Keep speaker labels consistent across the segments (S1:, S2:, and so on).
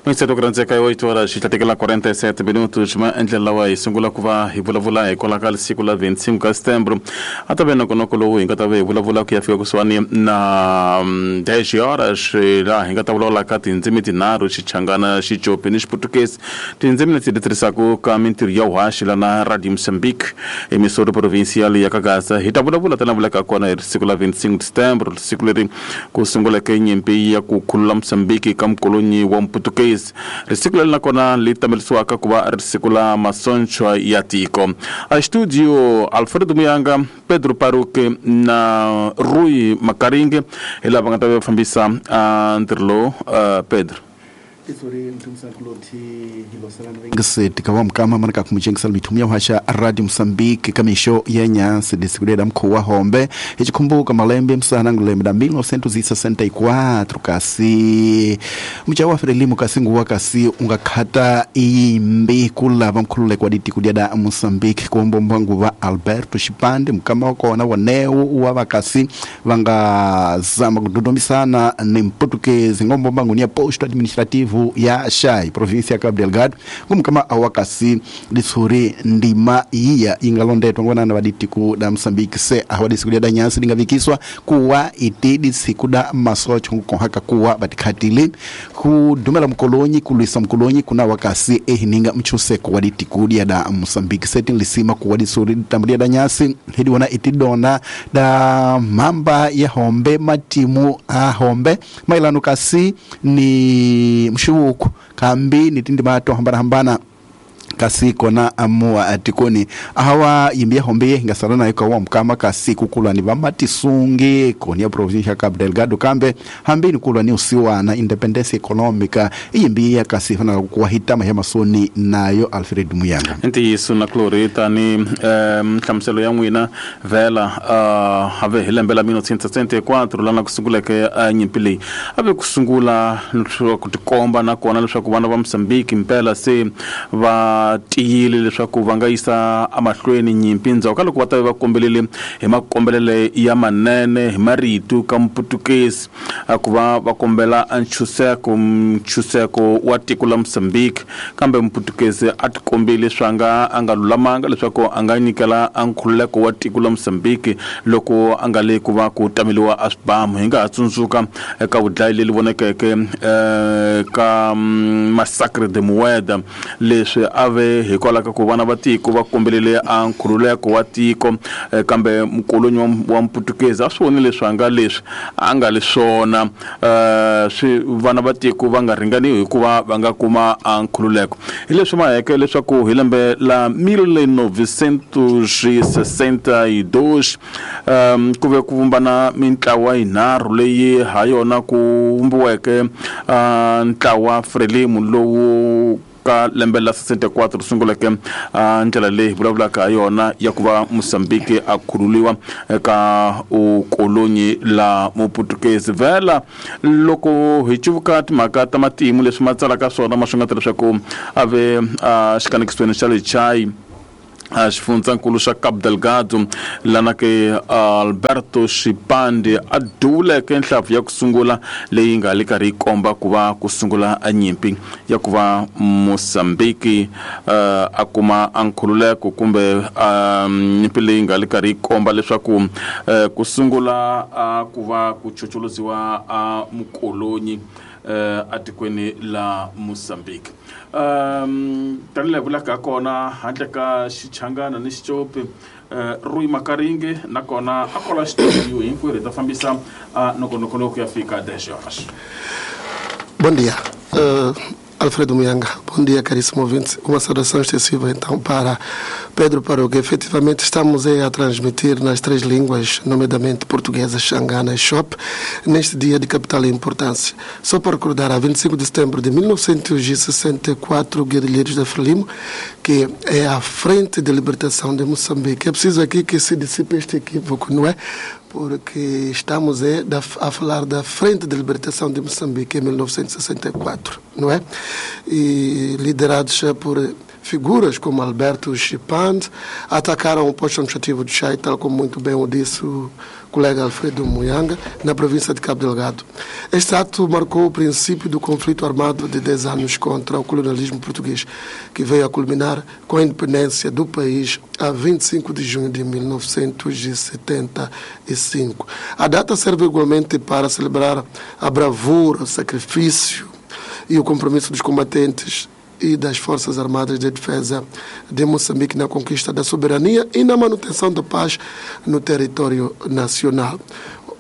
S1: Minseto ku rhandzeka 8 horas xi tlatekela 47 minutos ma endlela lawa hi sungula ku va hi vulavula hikwalaho ka siku la 25 ka setembro a ta ve nongonoko lowu hi nga ta ve hi vulavula ku ya fika kusuhani na 10 horas laha hi nga ta vulavula ka tindzimi tinharhu, Xichangana, Xicopi ni Xiputukezi, tindzimi leti ti tirhisaka ka mintirho ya vuhaxi lana Radio Mozambique emisori provincial ya ka Gaza. Hi ta vulavula tana vulaka kona hi siku la 25 setembro, siku leri ku sunguleke nyimpi ya ku khulula Mozambique ka mukolonyi wa Muputukezi. Risiku leri nakona li tamelisiwaka ku va ri siku la masonchwa ya tiko. A studio Alfredo Muyanga, Pedro Paruke na Rui Makaringe hi lava nga ta va fambisa ntirho lowu. Pedro.
S2: Ngiseti ka wa mukama mana ka kumujengisela mithumu ya uhasha Radio Mozambique ka mixo ya nyansi disiku mkhuwa hombe ichikhumbuka malembe msana ngulembe da 1964 kasi mucha wa Frelimo kasi nguwa kasi ungakhata iyimbi kulava mkhululeko wa ditiko dia da Mozambique kuombomba nguva Alberto Chipande mukama wa kona waneu wa vakasi vanga zama kudodomisana ni Mputukezi ngombomba ngunia posto administrativo ya Shai, província ya Cabo Delgado, ngumkama awakasi disuri ndima iya ingalondetwa ngwanana vaditiku da Mozambique se awadisiku da nyasi lingavikiswa kuwa iti disiku da masocho nkuhaka kuwa batikhatili kudumela mkolonyi kulwisa mkolonyi kuna wakasi ehininga mchuseko waditiku da Mozambique se tinlisima kuwa disuri tambulia da nyasi hidi wana itidona da mamba ya hombe matimu a hombe mailano kasi ni mshuku kambi nitindi mato hambana hambana kasi kona amua atikoni ahawa yimbia hombe ngasala na ikawa mkama kasi kukulwa ni vamatisungi koni ya provincia Cabo Delgado kambe hambini kulwa ni usiwa na independence economica iyimbia kasi fana kuwahitama ya masoni nayo Alfred Muyanga
S1: ntiyiso na Clorita ni nhlamuselo ya n'wina vela have hi lembe la 1964 lana kusunguleke nyimpi leyi ave kusungula ku tikomba na kona leswaku vana va Mozambique mpela se va tiyile leswaku va nga yisa amahlweni nyimpi ndzhaku ka loko va ta va kombelele hi makombelele ya manene hi marito ka Mputukezi ku va va kombela nchuseko wa tiko la Mozambique kambe Mputukezi a tikombile swanga a nga lulamanga leswaku a nga nyikela nkhululeko wa tiko la Mozambique loko a nga le ku va ku tameliwa a swibamu. Hi nga ha tsundzuka eka vudlayi leri vonekeke ka Massacre de Mueda leswi ave hikwalaho ka ku vana va tiko va kombelele a nkhululeko wa tiko kambe mukolonyi wa Mputukezi a swi vonile leswi a nga leswi a nga le swona swi vana va tiko va nga ringaniwi hikuva va nga kuma nkhululeko. Hi leswi maheke leswaku hi lembe la 1962 ku ve ku vumbana mintlawa yinharhu leyi ha yona ku vumbiweke ntlawa Frelimo lowu ka lembe la 64 sunguleke ndlela leyi vulavulaka ha yona ya ku va Mozambique a khululiwa eka ukolonyi la Muputukezi. Vela loko hi cuvuka timhaka ta matimu leswi ma tsalaka swona ma swi nga ta leswaku a ve xikanekisweni xa le Chai xifundzankulu xa Cabo Delgado lana ke Alberto Chipande a duvuleke nhlampfu ya ku sungula leyi nga le karhi yi komba ku va ku sungula nyimpi ya ku va Mozambique a kuma nkhululeko kumbe nyimpi leyi nga le karhi yi komba leswaku ku sungula ku va ku chocholoziwa mukolonyi atikweni la Mozambique. Tanihi vulaka kona handle ka Xichangana ni Xicopi Rui Makaringe nakona a kola xitudio hinkwerhu hi ta fambisa nongonoko lowu ku ya fika 10 horas.
S3: Bom dia, Alfredo Muyanga. Bom dia, caríssimo ouvinte. Uma saudação extensiva, então, para Pedro Paroque. Efetivamente, estamos a transmitir nas três línguas, nomeadamente portuguesa, xangana e xop, neste dia de capital importância. Só para recordar, a 25 de setembro de 1964, guerrilheiros da Frelimo, que é a Frente de Libertação de Moçambique. É preciso aqui que se dissipe este equívoco, não é? Porque estamos a falar da Frente de Libertação de Moçambique em 1964, não é? E liderados por Figuras como Alberto Chipande atacaram o posto administrativo de Chai, tal como muito bem o disse o colega Alfredo Muianga, na província de Cabo Delgado. Este ato marcou o princípio do conflito armado de 10 anos contra o colonialismo português, que veio a culminar com a independência do país a 25 de junho de 1975. A data serve igualmente para celebrar a bravura, o sacrifício e o compromisso dos combatentes e das Forças Armadas de Defesa de Moçambique na conquista da soberania e na manutenção da paz no território nacional.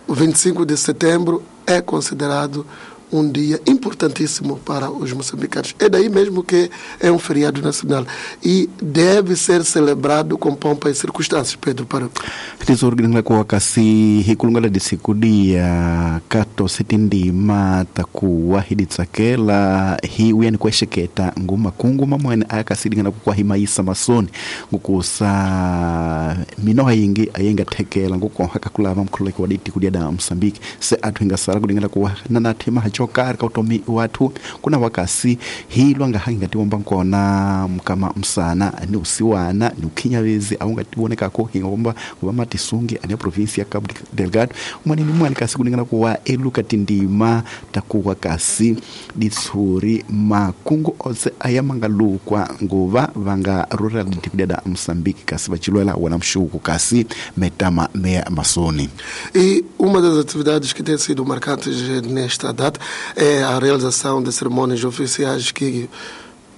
S3: O 25 de setembro é considerado um dia importantíssimo para os moçambicanos. É daí mesmo que é um feriado nacional e deve ser celebrado com pompa e circunstâncias. Pedro Paruco.
S2: Tizoringa kasi hikulungala disikudia kato setindima takuwa hiditsakela hiuyani kwexeketa nguma kunguma mwene akasidingana kukwahimaisa masoni ngukusa minoha yingi ayenga thekela ngukonhaka kulava mkhululeko wa diti kudia da Mosambiki se athu ingasala kudingana kuwa nanathima hacho kari kautomi wathu kuna wakasi hilwa ngahangatiwomba nkona mkama msana ni usiwana ni ukhinyavezi aungatiwonekako hingomba kuva matisungi ane provinsi ya Cabo Delgado mwanini mwani kasi kuningana kuwa eluka tindima takuwa kasi ditsuri makungu otse aya mangalukwa nguva vanga rural dikudada Mosambiki kasi vachilwela wona mshuku kasi metama meya masoni.
S3: E uma das atividades que tem sido marcantes nesta data é a realização de cerimônias oficiais que,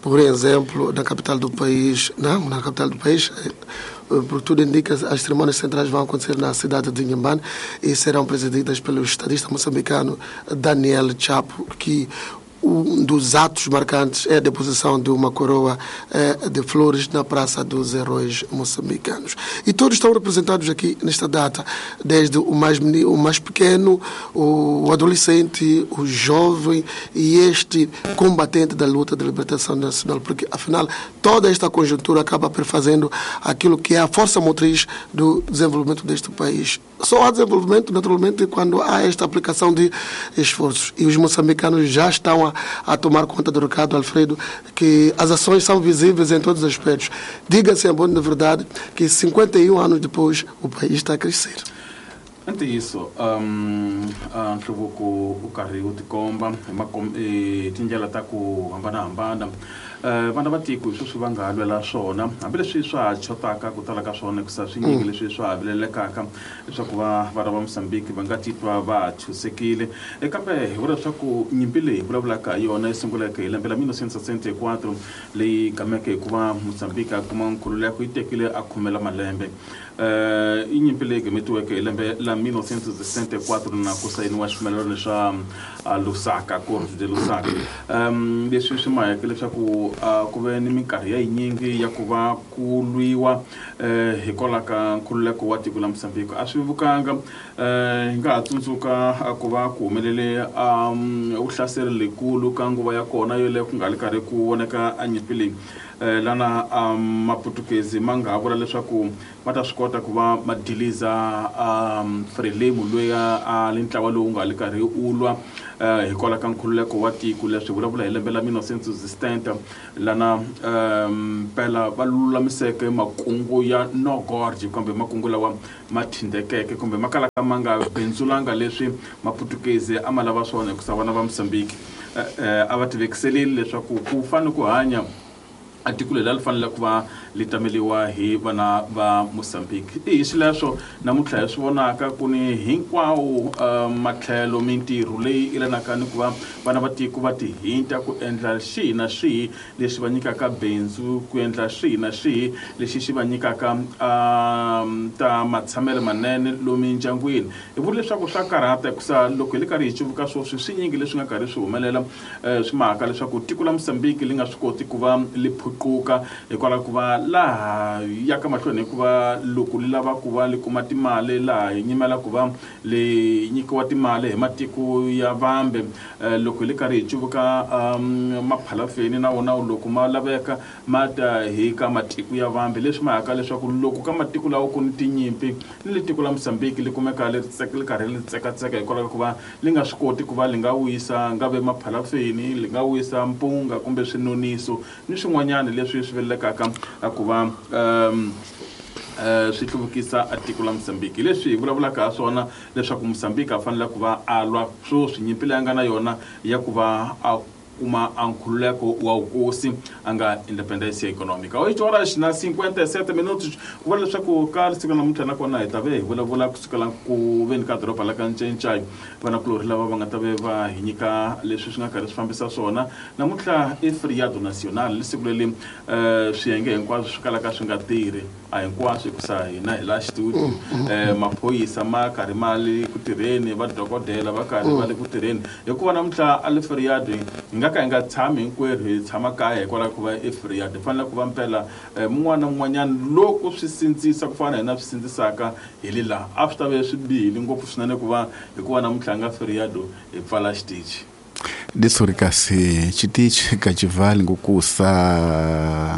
S3: por exemplo, na capital do país, não, na capital do país, por tudo indica, as cerimônias centrais vão acontecer na cidade de Inhambane e serão presididas pelo estadista moçambicano Daniel Chapo, que um dos atos marcantes é a deposição de uma coroa de flores na Praça dos Heróis Moçambicanos. E todos estão representados aqui nesta data, desde o mais pequeno, o adolescente, o jovem e este combatente da luta de libertação nacional, porque, afinal, toda esta conjuntura acaba perfazendo aquilo que é a força motriz do desenvolvimento deste país. Só há desenvolvimento, naturalmente, quando há esta aplicação de esforços. E os moçambicanos já estão a tomar conta do recado, Alfredo, que as ações são visíveis em todos os aspectos. Diga-se, em boa verdade, que 51 anos depois o país está a crescer.
S1: Ante isso, nhluvuko u karhi wu tikomba tindlela ta ku hambanahambana vana va tiko hi sweswi va nga lwela swona hambileswi swa ha chotaka ku tala ka swona hikusa swinyingi leswi swa ha vilelekaka leswaku vana va Mosambiki va nga titwa va chusekile kambe hi vula leswaku nyimpi leyi vulavulaka hi yona yi sunguleke hi lembe la 1964 leyi gameke hikuva Mosambiki a kuma nkhululeko yi tekile a khumela malembe i nyimpi leyi gametiweke hi lembe la 1964 na ku sayiniwa xipfumelelano xa Lusaka Acordo de Lusaka leswi swi maheke leswaku ku ve ni minkarhi ya yinyingi ya ku va ku lwiwa hikwalaho ka nkhululeko wa tiko la Mosambiki a swi vukanga hi nga ha tsundzuka ku va ku humelele vuhlaseri lekulu ka nguva ya kona yoleyo ku nga ri karhi ku voneka a nyimpi leyi lana maputukezi ma nga ha vula leswaku va ta swi kota ku va ma diliza Frelimo loyi a li ntlawa lowu nga li karhi u lwa hikwalaho ka nkhululeko wa tiko leswi vulavula hi lembe la 1960 lana mpela va lulamiseke makungu ya No Gorge kumbe makungu lawa ma thindekeke kumbe ma kalaka ma nga bindzulanga leswi maputukezi a ma lava swona hikusa vana va Mosambiki a va tivekiselile leswaku ku fanele ku hanya a tiko leri a ri fanele ku va li tameliwa hi vana va Mosambiki i hi xileswo namuntlha hi swi vonaka ku ni hinkwawo matlhelo mintirho leyi yelanaka ni ku va vana va tiko va tihinta ku endla xihi na xihi lexi va nyikaka bindzu ku endla xihi na xihi lexi xi va nyikaka ta matshamelo manene lomu ndyangwini hi vula leswaku swa karhata hikusa loko hi le karhi hi cuvuka swoswi swinyingi leswi nga karhi swi humelela swi mhaka leswaku tiko la Mosambiki li nga swi koti ku va li phuquka hikwalaho ku va Laha ya ka mahlweni hikuva loko li lava ku va li kuma timali laha hi nyimela ku va li nyikiwa timali hi matiko ya vambe. Loko hi le karhi hi cuvuka maphalafeni na wona loko ma laveka ma ta hi ka matiko ya vambe, leswi ma haka leswaku loko ka matiko lawa ku ni tinyimpi ni le tiko la Mozambique li kumeka li karhi li tsekatseka hikwalaho ka ku va li nga swi koti ku va li nga wisa nga ve maphalafeni, li nga wisa mpunga kumbe swinoniso ni swin'wanyana leswi swi velekaka ku va swi hluvukisa tiko la Mozambique. Leswi hi vulavulaka ha swona leswaku Mozambique a fanele ku va a lwa sweswi nyimpi leyi a nga na yona ya ku va a kuma a nkhululeko wa vukosi a nga independência econômica. 8 horas na 57 minutos. Ku vula leswaku ka siku ra namuntlha nakona hi ta ve hi vulavula kusukela ku veni ka doroba la ka Ncencai, vanakulorhi lava va nga ta ve va hi nyika leswi swi nga karhi swi fambisa swona. Namuntlha i feriado nacional, siku leri swiyenge hinkwaswo swi kalaka swi nga tirhi, a hinkwaswo hikusa hina hi la studio maphorisa ma karhi ma le ku tirheni, vadokodela va karhi va le ku tirheni, hikuva namuntlha a le feriado hi nga ka hi nga tshami hinkwerhu hi tshama kaya hikwalaho ku va i feriado. Hi fanele ku va mpela mun'wana na mun'wanyana loko swi sindzisa ku fana na hina swi sindzisaka hi le laha a swi ta ve swi bihile ngopfu swinene ku va hikuva namuntlha nga feriado hi pfala xitichi.
S2: Disuri kasi chitichi kachivali ngukusa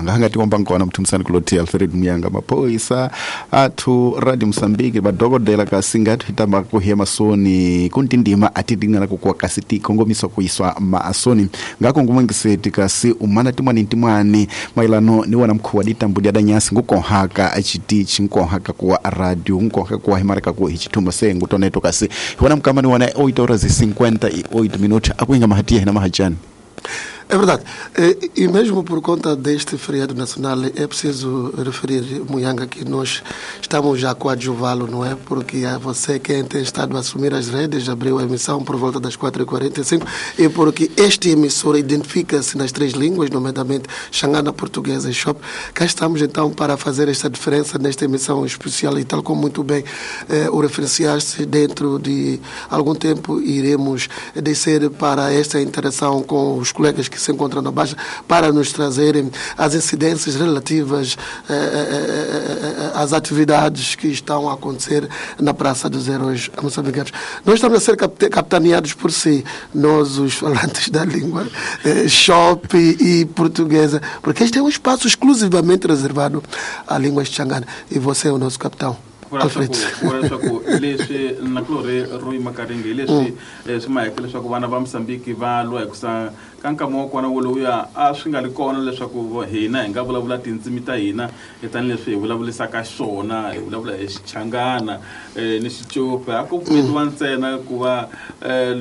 S2: ngahanga tikomba nkona mthumisani kuloti Alfred Muyanga maphoyisa athu Radio Mozambique vadokodela kasi ngati hitamba kuhiya masoni kuntindima atidingana kukuwa kasi tikongomiswa kuiswa maasoni ngako ngumengiseti kasi umana timwani timwani mailano ni wana mkhuwa ditambu dia danyasi ngukonhaka chitichi nkonhaka kuwa radio nkonhaka kuwa himarika kuwa hichithumba se ngutoneto kasi wana mkamani wana 8 horas e 58 minutos akuinga mahatia na mahajani.
S3: É verdade. E mesmo por conta deste feriado nacional, é preciso referir, Muyanga, que nós estamos já coadjuvá-lo, não é? Porque é você quem tem estado a assumir as redes, abriu a emissão por volta das 4h45, e porque este emissor identifica-se nas três línguas, nomeadamente Xangana, Portuguesa e Shop. Cá estamos então para fazer esta diferença nesta emissão especial e tal como muito bem o referenciaste, dentro de algum tempo iremos descer para esta interação com os colegas que se encontram na Baixa para nos trazerem as incidências relativas às atividades que estão a acontecer na Praça dos Heróis Moçambicanos. Nós estamos a ser capitaneados por si, nós os falantes da língua Shop e portuguesa, porque este é um espaço exclusivamente reservado à língua xangana e você é o nosso capitão. Alfred.
S1: Leswi nakulorhi ro yima karinge leswi swi maheke leswaku vana va Mozambique va lwa hikusa ka nkama wa kona wolowuya a swi nga ri kona leswaku hina hi nga vulavula tindzimi ta hina tanihileswi hi vulavurisaka xona, hi vulavula hi Xichangana ni Xicopi. A ku pfumetiwa ntsena ku va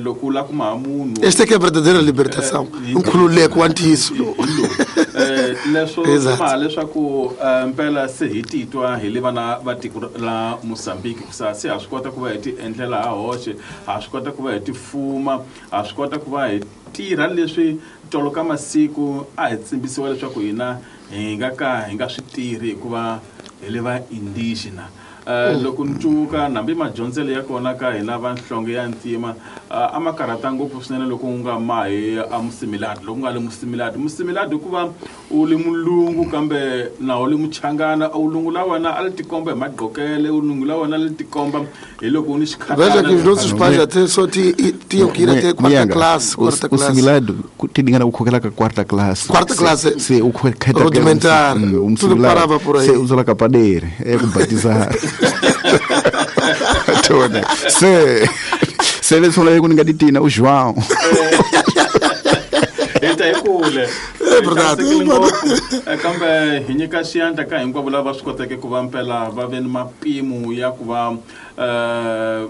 S1: loko u lava ku maha munhu.
S3: Esta que é a verdadeira libertação, nkhululeko wa ntiyiso lowu.
S1: Leswo ma leswaku mpela se hi titwa hi le vana va tiko la Mozambique kusa se ha swi kota ku va hi ti endlela ha hoxe, ha swi kota ku va hi ti fuma, ha swi kota ku va hi tirha leswi tolo ka masiku a hi tsimbisiwa leswaku hina hi nga ka hi nga swi tirhi hikuva hi le va indigena. Loko ni cuvuka nambi madyondzelo ya kona ka hina va nhlonge ya ntima a ma karhata ngopfu swinene loko u nga mahi a musimiladi, loko u nga le musimiladi. Musimiladi hikuva u le mulungu kambe na u le muchangana, u lungu la wena a li tikomba hi magqokele, u lungu la wena a li tikomba hi loko u ni xikhatana.
S3: Veja que os nossos pais até só tinham que ir até quarta classe, quarta classe.
S2: O similado tinha que ir até quarta classe.
S3: Quarta classe.
S2: Se o
S3: rudimentar, tudo parava por aí.
S2: Se usa la capadeira, é com batizar. Tona. Se vê só lá com ngaditina o João.
S1: Eta hi kule.
S3: É verdade.
S1: Kambe hi nyika xiyandla ka hinkwavo lava swi koteke ku va mpela va ve ni mapimo ya ku va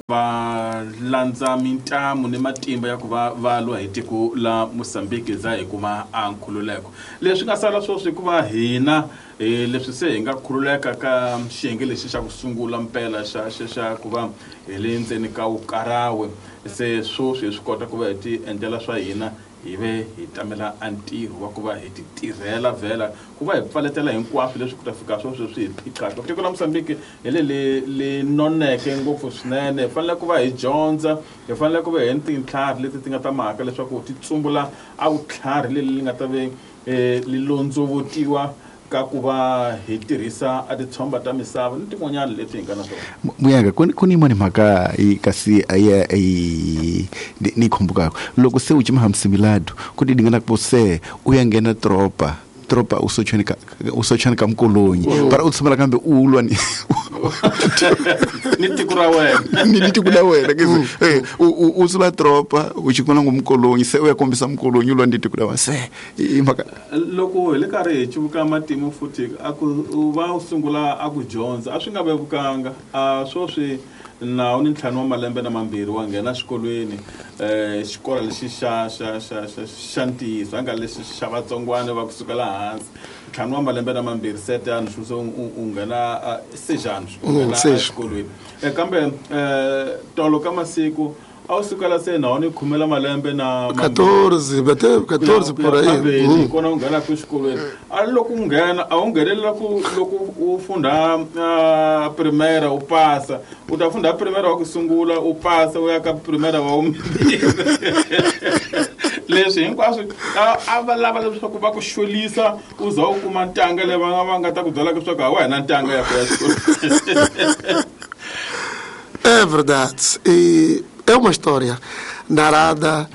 S1: va landza mintamu ni matimba ya ku va va lwa hi tiko la Mozambique za hi kuma a nkhululeko. Leswi nga sala sweswi hikuva hina leswi se hi nga khululeka ka xiyenge lexi xa ku sungula mpela xa xa ku va hi le ndzeni ka wukarawe, se sweswi hi swi kota ku va hi ti endlela swa hina, hi ve hi tamela a ntirho wa ku va hi ti tirhela vhela ku va hi pfaletela hinkwaswo leswi ku ta fika sweswo swi hi phiqaka. Tiko la Mozambique hi le le noneke ngopfu swinene, hi fanele ku va hi dyondza, hi fanele ku va hi ni tintlhari leti ti nga ta mhaka leswaku ti tsumbula a vutlhari leli li nga ta ve li londzovotiwa Ka ku va hi tirhisa a titshomba ta misava ni tin'wanyana leti hi nga na tona.
S2: Muyanga, ku ni yin'wani mhaka yi kasi a ya yi ni yi khumbukaka. Loko se u cima hamsimilado, ku ti dingana ku se u ya nghena tropa, tropa u sochweni ka u sochweni ka mkolonyi. Para u tshamela kambe u lwa ni
S1: ni tiko ra wena.
S2: Ni tiko la wena ke u sula tropa u chikona ngo mkolonyi se u ya kombisa mkolonyi u lwa ni tiko la wena se i mhaka.
S1: Loko hi le karhi hi cuvuka matimu futhi a ku u va u sungula a ku dyondza a swi nga vevukanga a swoswi nawu ni 5 wa malembe na mambirhi wa nghena xikolweni xikolo lexi xa xa xa xa xa ntiyiso a nga lexi xa vatsongwana va kusukela hansi 5 wa malembe na mambirhi setani swi u nghena sejani u nghena exikolweni kambe tolo ka masiku a wu sukela se nawu ni khumela malembe na
S3: 14 bete 14 por aí
S1: kona u nghena ku xikolweni a loko u nghena a wu nghenelela ku loko u funda primera u pasa u ta funda primera wa ku sungula u pasa u ya ka primera wa vumbirhi leswi hinkwaswo a va lava leswaku va ku xolisa u za u kuma ntanga leyi va nga ta ku byela leswaku a wa hina ntanga ya ku ya xikolweni.
S3: É verdade. E é uma história narrada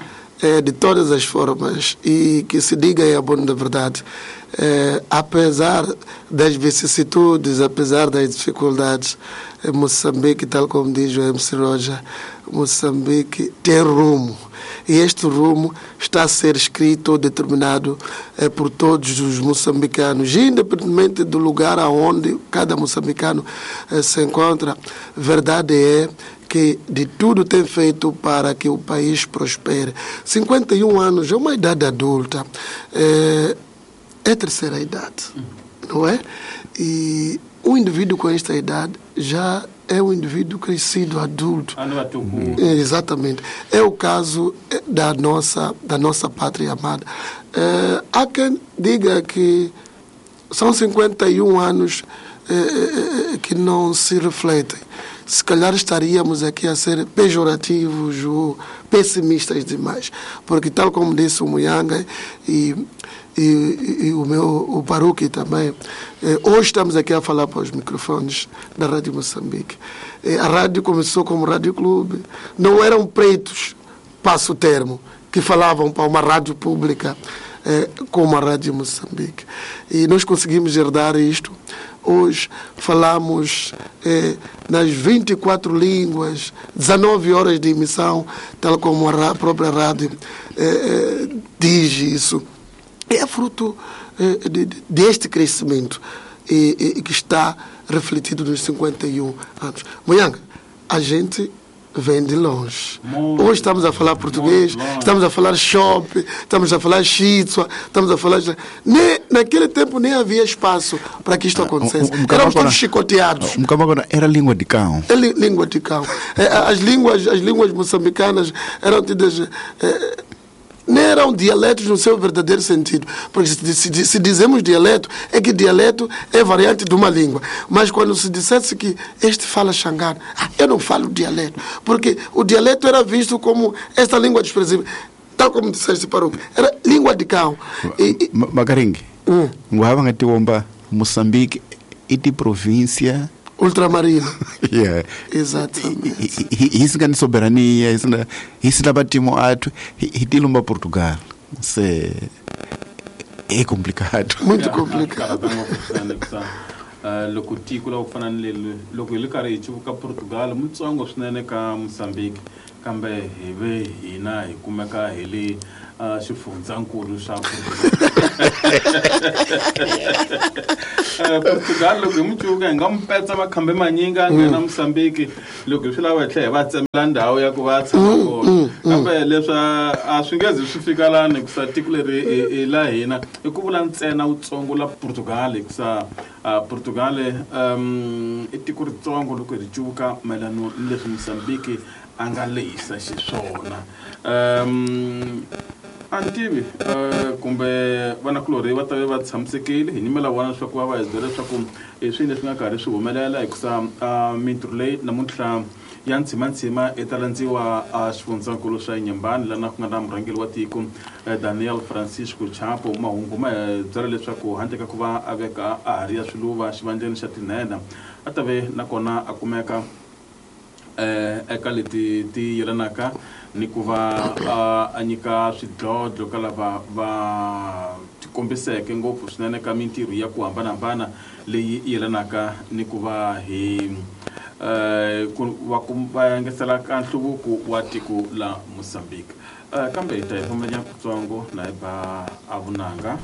S3: de todas as formas e que se diga é a boa da verdade. Apesar das vicissitudes, apesar das dificuldades, Moçambique, tal como diz o MC Roger, Moçambique tem rumo. E este rumo está a ser escrito ou determinado por todos os moçambicanos, independentemente do lugar aonde cada moçambicano se encontra. Verdade é que de tudo tem feito para que o país prospere. 51 anos é uma idade adulta, é terceira idade, não é? E um indivíduo com esta idade já é um indivíduo crescido, adulto. Exatamente. É o caso da nossa pátria amada. Há quem diga que são 51 anos que não se refletem. Se calhar estaríamos aqui a ser pejorativos ou pessimistas demais, porque tal como disse o Muyanga e o meu o Baruque também, hoje estamos aqui a falar para os microfones da Rádio Moçambique. A rádio começou como Rádio Clube, não eram pretos, passo o termo, que falavam para uma rádio pública como a Rádio Moçambique. E nós conseguimos herdar isto. Hoje falamos nas 24 línguas, 19 horas de emissão, tal como a própria rádio diz isso. É fruto deste crescimento e que está refletido nos 51 anos. Muyanga, a gente vem de longe. Muito, hoje estamos a falar português, estamos a falar shop, estamos a falar shitsua, estamos a falar... Nem, naquele tempo nem havia espaço para que isto acontecesse. Éramos todos chicoteados.
S2: Era língua de cão.
S3: É língua de cão. As línguas moçambicanas eram tidas... nem eram dialetos no seu verdadeiro sentido. Porque se dizemos dialeto, é que dialeto é variante de uma língua. Mas quando se dissesse que este fala xangana, eu não falo dialeto. Porque o dialeto era visto como esta língua desprezível. Tal como disseste, Baruque, era língua de cão.
S2: Makaringi, Moçambique e de província
S3: ultramarina.
S2: Yeah.
S3: Exatamente.
S2: Isso que é soberania, isso da batimo ato, e tilumba Portugal. Isso é complicado.
S3: Muito complicado.
S1: Loko tiko la ku fana ni leri loko hi le karhi hi cuvuka Portugal mutsongo swinene ka Mozambique kambe hi ve hina hi kumeka hi le xifundzankulu xa Portugal loko hi mucuvuka hi nga mu petsa makhambe manyingi a nghena Mozambique loko hi swi lava hi tlhela hi va tsemela ndhawu ya ku va tshama kona kambe leswi a swi nge zi swi fika lani hikusa tiko leri i la hina i ku vula ntsena wutsongo la Portugal hikusa Portugal i tiko ritsongo loko hi ri cuvuka mayelana ni leswi Mozambique a nga lehisa xiswona. A ni tivi kumbe vanakulorhi va ta ve va tshamisekile hi nyimela vona leswaku va va hi byela leswaku i swini leswi nga karhi swi humelela hikusa mintirho leyi namuntlha Ya ntshimantsima i ta landziwa a xifundzankulu xa Inhambane, lana ku nga na murhangeri wa tiko Daniel Francisco Chapo. Mahungu ma hi byela leswaku handle ka ku va a veka a ha ri ya swiluva xivandleni xa tinhenha, a ta ve nakona a kumeka eka leti ti yelanaka ni ku va a nyika swidlodlo ka lava va tikombiseke ngopfu swinene ka mintirho ya ku hambanahambana leyi yelanaka ni ku va hi ku va va engetela ka nhluvuko wa tiko la Mozambique. Kambe hi ta hi fambanya kutsongo na hi ba a vunanga.